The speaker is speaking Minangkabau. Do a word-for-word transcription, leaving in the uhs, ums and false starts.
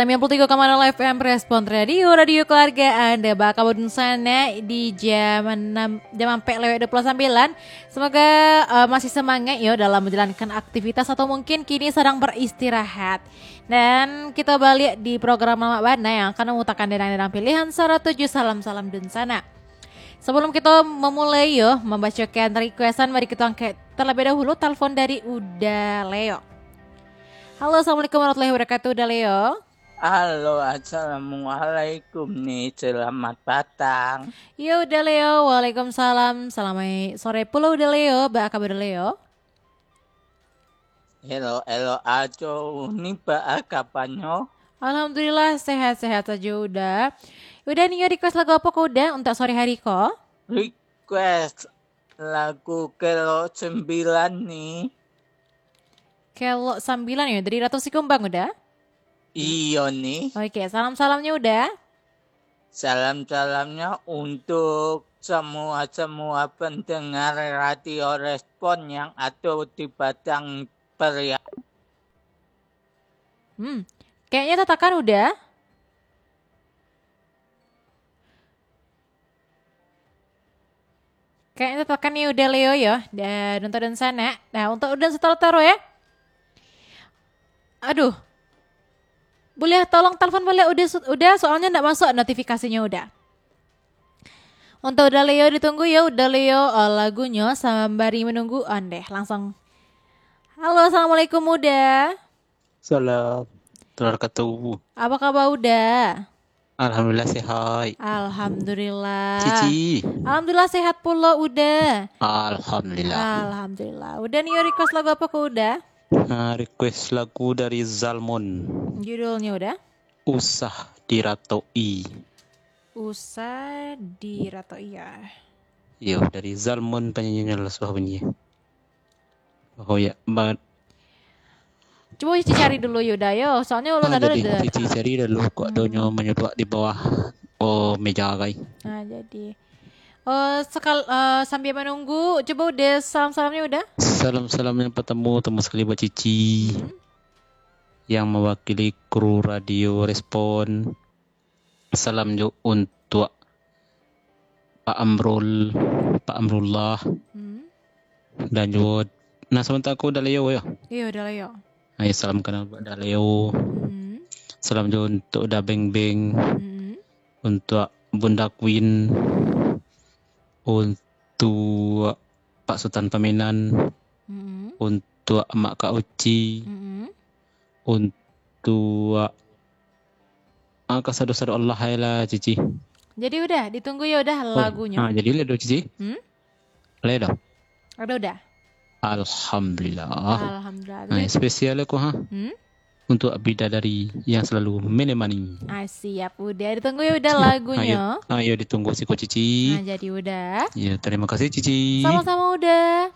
Sembilan puluh tiga koma nol F M Respon Radio, radio keluarga Anda. Baa kaba dunsanak di jam enam, jam ampek lewat dua puluh sembilan. Semoga, eh, masih semangat yo dalam menjalankan aktivitas atau mungkin kini sedang beristirahat. Dan kita balik di program Lamak Bana yang akan memutarkan dendang-dendang pilihan sarato jo salam-salam dunsanak. Sebelum kita memulai yo membacakan requestan, mari kita angkat terlebih dahulu telepon dari Uda Leo. Halo, assalamualaikum warahmatullahi wabarakatuh, Uda Leo. Halo, assalamualaikum ni, selamat patang. Yo, Uda Leo, waalaikumsalam. Selamat sore pulo, Uda Leo. Baa kaba, Uda Leo? Elok-elok ajo, ni baa kabanyo? Alhamdulillah, sehat-sehat sajo, Uda. Uda, nio request lagu apo ko, Uda, untuak sore hari ko? Request lagu Kelok Sembilan ni. Kelok Sambilan yo, dari Ratu Sikumbang, Uda? Iyo ni. Oke, salam-salamnyo, Uda. Salam-salamnyo untuk semua-semua pendengar Radio Respon yang ado di Padang Pariaman. Hmm, kayaknya tatakan, Uda. Kayaknya tatakan ni Uda Leo yo, dan untuak dunsanak. Nah, untuak Uda setel terus ya. Aduh. Boleh tolong telepon balik Uda, Uda, soalnya ndak masuk notifikasinya, Uda. Untuak Uda Leo ditunggu yo, Uda Leo, eh, lagunyo sambari menunggu. Ondeh, langsung. Halo, assalamualaikum, Uda. Salam. Tular katu. Apa kaba, Uda? Alhamdulillah, sehat. Alhamdulillah. Cici. Alhamdulillah, sehat pulo, Uda. Alhamdulillah. Alhamdulillah. Uda, nio request lagu apa ko, Uda? Ah, request lagu dari Zalmon. Judulnya, Uda? Usah Diratoi. Usah Diratoi, ya. Iyo, dari Zalmon penyanyinya lah, suah bunyi. Oh ya, banget. Cubo Cici cari dulu, Uda, yo. Soalnya ulun Ah, ado jadi, Cici cari dulu, kok Hmm. adonyo manyuduak di bawah, oh, meja, kai. Ah, jadi. Oh, sekal-, eh, sambil menunggu, cubo Uda salam-salamnya, Uda. Salam-salam yang pertama, pertama sekali buat Cici. Hmm. Yang mewakili kru Radio Respon. Salam jo untuak Pak Amrul, Pak Amrullah, Hmm. dan juo, nah, samantaro ko Uda Leo yo. Iyo, Uda Leo. Ayo, salam kenal buat Uda Leo. Hmm. Salam jo untuak Uda Beng Beng, Hmm. untuak Bunda Queen, untuak Pak Sutan Pamenan, Hmm. untuak Mak Kak Uci, Hmm. untuak Ah, kasado-sado Allah ai lah, Cici. Jadi Uda, ditunggu yo Uda Oh, lagunyo. Ah, jadi lah doh, Cici. Hmm? Lah doh. Ado Uda. Alhamdulillah. Alhamdulillah. Ah, Jadi spesial ko, ha. Hmm? Untuk bidadari yang selalu menemani. Ah, siap Uda. Ditunggu yo Uda Siap. lagunyo. Ah, yo. Ah, yo ditunggu siko, Cici. Ah, jadi Uda. Ya, terima kasih, Cici. Sama-sama Uda.